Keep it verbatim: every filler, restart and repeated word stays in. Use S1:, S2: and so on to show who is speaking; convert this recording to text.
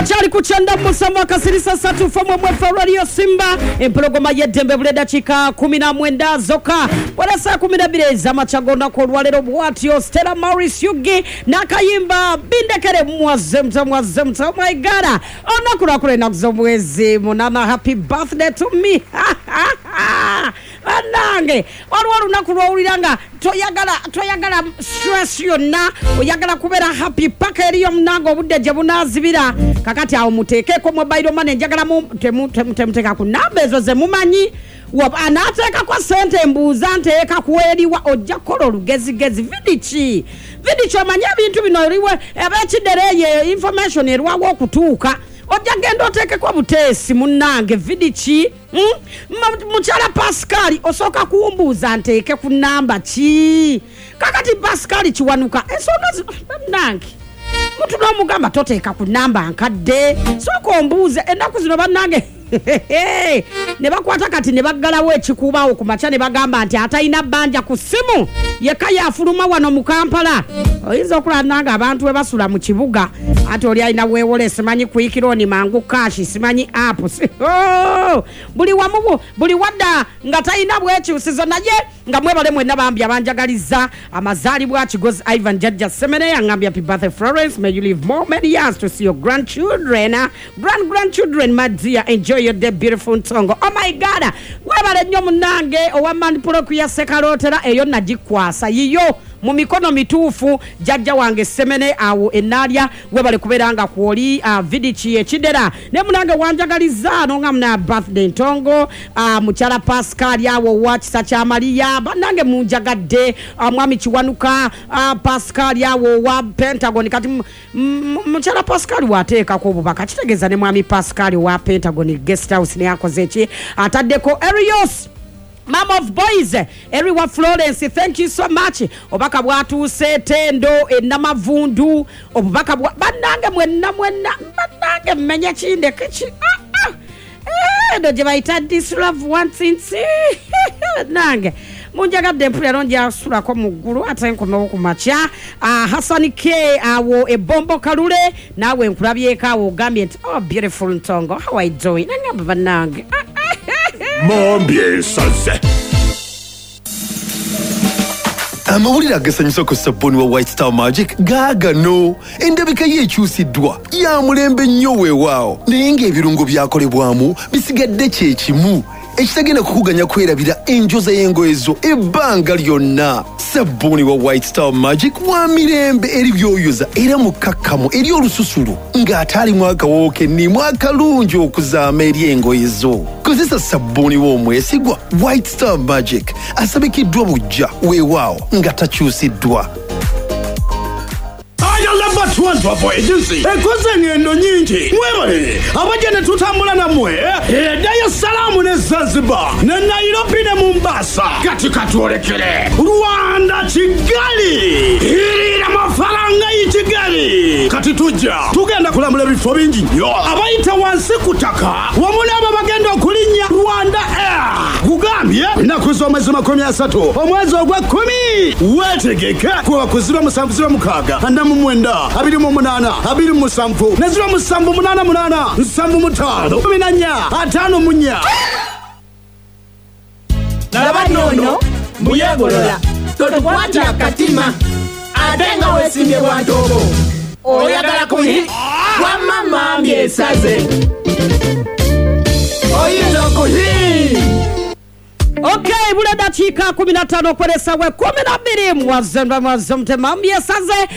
S1: Okyali ku kyenda musanvu akasirisa ssatu fomwe mwefe Radio Simba, empologoma y'eddembe. Buli eddakiika kumi na mwenda zokka wala saa kumi na bbiri ez'amakya g'olunaku olwaleero. Bwatyo Stella Maurice Yugi n'akayimba Bindekere. Mwaze mutya, mwaze mutya? Oh my God, olunaku lwakula ennaku z'omwezi munana. Happy birthday to me. Bannange, waliwo olunaku lwowulira nga toyagala toyagala stress yonna, oyagala kubeera happy paka eriyo munange obudde gye bunaazibira. Kakati awo muteekeko mobile money. Njagala temuteeka ku namba ezo ze mumanyi. Anaateekako sente, mbuuza nteeka kuweriwa. Ojja kukola olugezigezi. Vidiki vidiki, omanye ebintu bino eriwe ab'ekidereeye, information erwawo okutuuka. Ojja genda oteekeko buteesi munnange. Vidiki, hmm? Mukyala Pascal, osooka kumbuuza nteeke ku namba ki? Kakati Pascal Kiwanuka, ensonga bannange, mutu n'omugamba toteeka ku namba nkadde, sooka ombuuze. Ennaku zino bannange ne bakwata kati ne baggalawo ekikuubaawo ku makya ne bagamba nti atalina bbanja ku ssimu yekka yafuluma wano mu Kampala. Oyinza okulaba nga abantu we basula mu kibuga, ate oli alina weewole, simanyi Quick Loan, Mangu Cash, simanyi app. Oh! Buli wamu, buli wadda nga talina bwekyusizo. Naye nga mwebale mwenna bambi abanjagaliza amazaalibwa. Kigozi Ivan Jajja Semene yangambye, "Happy birthday, Florence. May you live more many years to see your grandchildren, grand grandchildren. My dear, enjoy your day, beautiful Ntongo." Oh my God, webale nnyo munnange owa manpuloku ya Sekalootera. Eyo nagikwasa yiyo mu mikono mituufu. Jjajja wange Semene awo enaalya, webale kubeera nga kwoli. uh, vidiki ekidera ne munange wanjagaliza nonga muna birthday Ntongo. uh, mukyala Pascal awo wa Kisa kya Mariya, bannange munjagadde. uh, mwami Kiwanuka, uh, Pascal awo wa Pentagon. Kati mukyala Pascal wateekako obubaka, kitegeeza ne mwami Pascal wa Pentagon Guest House neyakoze eki, ataddeko. Erios Mom of Boys, Eriwa Florence, thank you so much. Obubaka bwatuuse. Tendo enamavundu, obubaka bwa bannange mwenna mwenna. Bannange, mmenye kindeke ki? Ah, ah. Eno gye bayita "This love wants". Nange munjagadde, mpulira njasulako mu ggulu ate nkomewo ku makya. uh, Hasani K awo ebombo kalule, naawe nkulabyeko awo, ogambye nti, "Oh, beautiful Ntongo, how are you doing?" Nangamba bannange.
S2: Mambi esaze.
S3: Amawulire agasanyusa ku sabbuuni wa White Star Magic gaagano. Endabika ye ekyusiddwa, ya mulembe nnyo weewaawo, naye ng'ebirungo byakolebwamu bisigadde kye kimu, ekitagenda kukuganya kwerabira enjoza y'engoye zo ebbanga lyonna. Sabbuuni wa White Star Magic wa mirembe eri byoyoza era mukkakkamu eri olususu ng'ate alimu akawoowo kennimu akalungi okuzaama eri engoye zo. Kozesa sabbuuni w'omwesigwa White Star Magic, asabikiddwa bujja weewaawo nga takyusiddwa.
S2: Travel Agency ekoze engendo nyingi. Mwebale abajja ne tutambula nammwe eddayo Salaamu ne Zanzibar ne Nairobi ne Mombasa. Kati katwolekere Rwanda, Kigali. Irira amafaranga y'i Kigali. Kati tujja tugenda kulambula ebifo bingi nnyo. Abayita wansi ku ttaka wamu n'abo bagenda okulinnya Rwanda Air, kugambye ennaku z'omwezi makumi asatu omwezi ogw'ekkumi, weetegeke kuba ku ziro musanvu ziro mukaaga ana mu mwenda abiri mu munaana abiri mu musanvu ne ziro musanvu munaana munaana nsanvu mu ttaano kumi na nnya ataano mu nnya.
S4: Laba nnono mbuyegolola, totukwatya akatima ate nga weesimbye bwa ntobo, oyagala kuyi wamma mambi esaze oyinza okuhi.
S1: Okay, bule dakiika kumi na ttaano okweresa we kumi na bbiri. Mwazemba, mwazemte, mambi esaze.